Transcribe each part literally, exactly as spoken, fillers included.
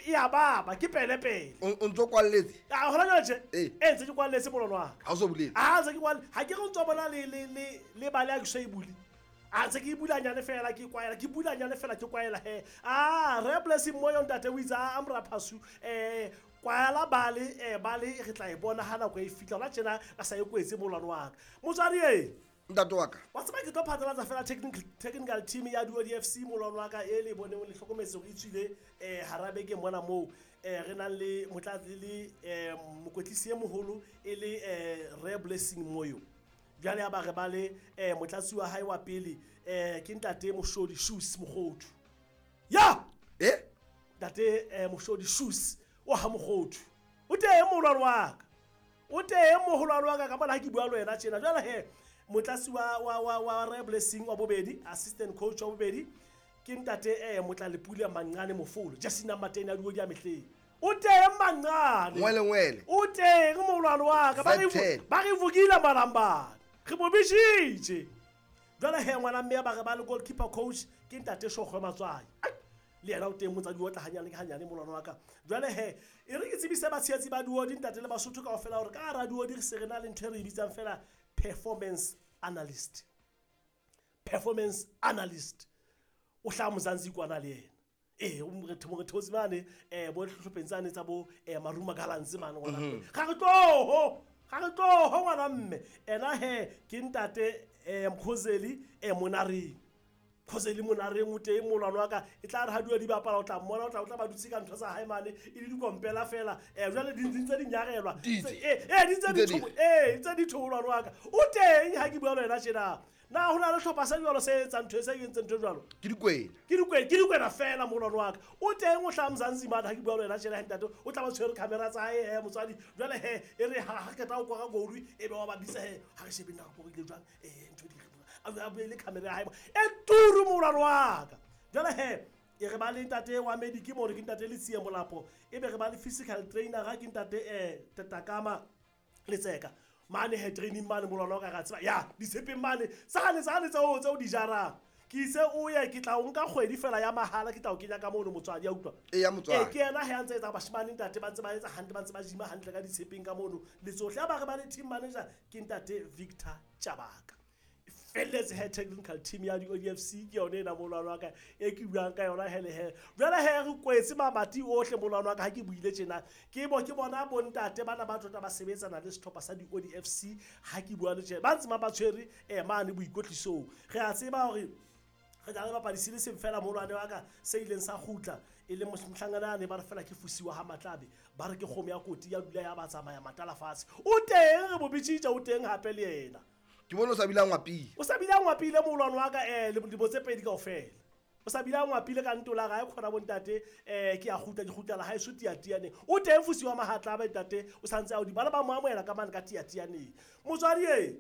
ya baba ke pele pele o ntso kwalletse a hona jwale tje e ntse ke kwalletse molwana wa ka ha o so bulele a ntse ke kwalle ha ke re ntso bona le le le le bale a ke so e bule a ntse ke bulanyane fela ke kwaela ke bulanyane fela ke kwaela he a re Blessing Moyo ntate o itse a amra phasu eh kwaela bale eh bale re tla e bona ha nako e fitla hona tjena a sa e kwetse molwana wa ka motswadi e ntate wa ka wa tseba ke tlo phatlalatsa fela technical technical team ya Duodi F C molwana wa ka e le boneng le hlokometse hore e tswile eh hara beke mona moo eh re nang le motlatsi le eh mokwetlisi e moholo e le eh Re Blessing Moyo jwale ya ba re ba le eh motlatsi wa hae wa pele eh ke ntate Moshodi Shoes Mokgothu ya eh ntate eh Moshodi Shoes o ha Mokgothu o teng molwana wa ka o teng moholwane wa ka ka bona ha ke bua le wena tjena jwale he motlatsi wa wa wa wa Re Blessing wa bobedi assistant coach wa bobedi ke ntate eh Motlalepule Manqane Mofolo jersey number ten ya Duodi ya mehleng o teng Manqane ngwele ngwele o teng molwana wa ka ba re ba re vukile malambana re mo bishitse jwale he ngwana mme ba re ba le goalkeeper coach ke ntate Shogwe Matswai le yena o teng motsadi o tla hanyane ke hanyane molwana wa ka jwale he e re ke tsebise batshehetsi ba Duodi ntate le Basotho kaofela hore ka hara Duodi re se re na le ntho e re e bitsang fela performance analyst performance analyst o hlaha Mzansi kwana le yena eh o moretho morethozi mane eh bo hlopheng tsane tsa bo eh Maruma Gallants mane ngwana ga re tloho ga re tloho ngwana mme ena he ke ntate eh Mkhozeli eh Monareng Mkhozeli Monareng o teng molwana wa ka e tla re ha Duodi bapala o tla mmona o tla o tla ba dutse ka ntho tsa hae mane e le dikompela fela eh jwale di ntse di nyarelwa eh eh di ntse di eh ntse di tholwana wa ka o teng ha ke bua le wena tjena na hona le hlopha sa jwalo se etsang ntho e se entseng ntho jwalo ke dikwena ke dikwena ke dikwena fela molwana wa ka o teng o hla Mzansi mane ha ke bua le wena tjena ntate o tla ba tshwere camera tsa hae he motswadi jwale he e re ha ha keta o kora goal e be wa ba bitsa he ha re shebe na go ile jwang eh ntho di a bue le camera ya hae e turu molwana wa ka jwale he e re ba le ntate wa medic mo re ke ntate Letsie Molapo e be re ba le physical trainer ga ke ntate eh Tatakama Letseka mane he training mane molwana wa ka ga tseba ya ditshepeng mane tsane tsane tseo tseo di jarang ke itse o ye ke tla o nka kgwedi fela ya mahala ke tla o kenya ka mono motswadi ya utlwa e ya motswadi e ke yena he a ntse etsa bashimane ntate ba ntse ba etsa hantle ba ntse ba jima hantle ka ditshepeng ka mono le tsohle ya ba re ba le team manager ke ntate Victor Chabaka felletse he technical team ya di-O D F C ke yone ena molwana wa ka e ke buang ka yona hele he jwale he re kwetse mamati ohle molwana wa ka ha ke buile tjena ke bo ke bona bontate bana ba tota ba sebetsana le sehlopha sa di-O D F C ha ke bua le tjena ba ntse ba tshwere eh mane boikwetlisong re a tseba hore re tla le bapadi se le seng fela molwane wa ka se ileng sa kgutla e le mohlangana ne ba re fela ke fusiwa ha Matlabe ba re ke kgomo ya koti ya dula ya ba tsamaya matala fatshe o teng re bo bitsitse o teng hape le yena ke bona o sa bile ngwapile o sa bile ngwapile molwana wa ka eh le dibo tse pedi kaofela o sa bile ngwapile ka ntola ga e khona bontate eh ke a kgutla ke kgutla la hae so tiatiane o teng fusiwa Mahatlabe ntate o santse a o di bana ba mo amohela ka mane ka tiatiane motswadi e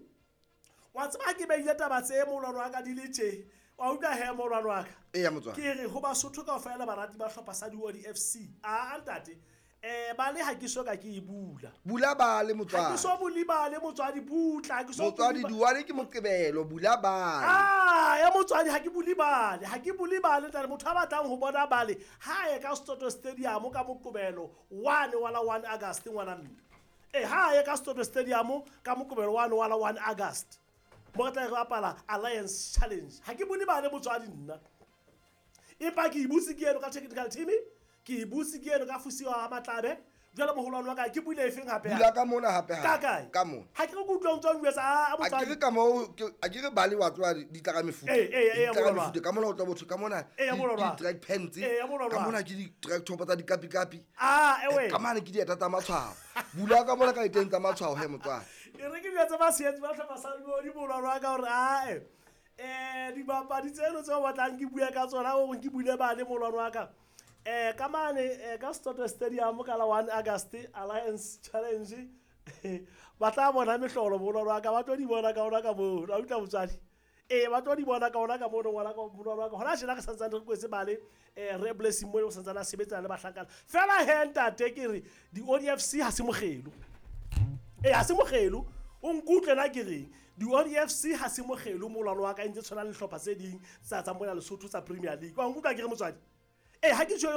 wa tseba ke beile taba tse molwana wa ka di le tje wa utlwa he molwana wa ka e ya motswadi ke re ho Basotho kaofela barati ba hlopha sa Duodi F C a ntate eh ba le ha ke so ka ke e bula bula ba le motswadi ha ke so buli ba le motswadi butla ha ke so motswadi Duane ke moqebelo bula ba ah ya motswadi ha ke buli bale ha ke buli bale ntate motho a batlang ho bona bale ha ye ka Soto Stadium ka moqebelo one wala one August ngwana mme eh ha ye ka Soto Stadium ka moqebelo one wala one August mo tla re bapala Alliance Challenge ha ke buli bale motswadi nna empa ke ibutse ke eno ka technical team ke butse ke eno ka fusiwa ha Matlabe jwale moholwane wa ka ke bule efeng hape bula ka mona hape ha ka ka mona ha ke re ke utlwa ntse o bua sa a motswadi a ke re ka mo a ke re bale wa tswa di tla ka mefuta eh eh di tla ka mefuta ka mona o tla botho ka mona di track pants ka mona ke di track top tsa dikapi kapi ah ewe ka mane ke dieta tsa matshwao bula ka mona ka diteng tsa matshwao he motswadi e re ke bua tsa batshehetsi ba hlopha sa Duodi molwana wa ka hore a eh eh dibapadi tseno tseo batlang ke bua ka tsona hore ke bule bale molwana wa ka eh ka mane eh ka Soto Stadium ka la one August Alliance Challenge ba tla bona mehlolo molwana wa ka ba tlo di bona ka ona ka mo a utlwa motswadi eh ba tlo di bona ka ona ka mo ngwana ka molwana wa ka hona tjena re santsane re kwetse bale eh Re Blessing Moyo o santsane a sebetsana le bahlankana fela he ntate ke re di O D F C ha se mokgelo eh ha se mokgelo o nkutlwe na ke reng di O D F C ha se mokgelo molwana wa ka ntse tshwana le hlopha tse ding tsa tsa mona Lesotho tsa Premier League wa nkutlwa ke re motswadi eh ha ke tjho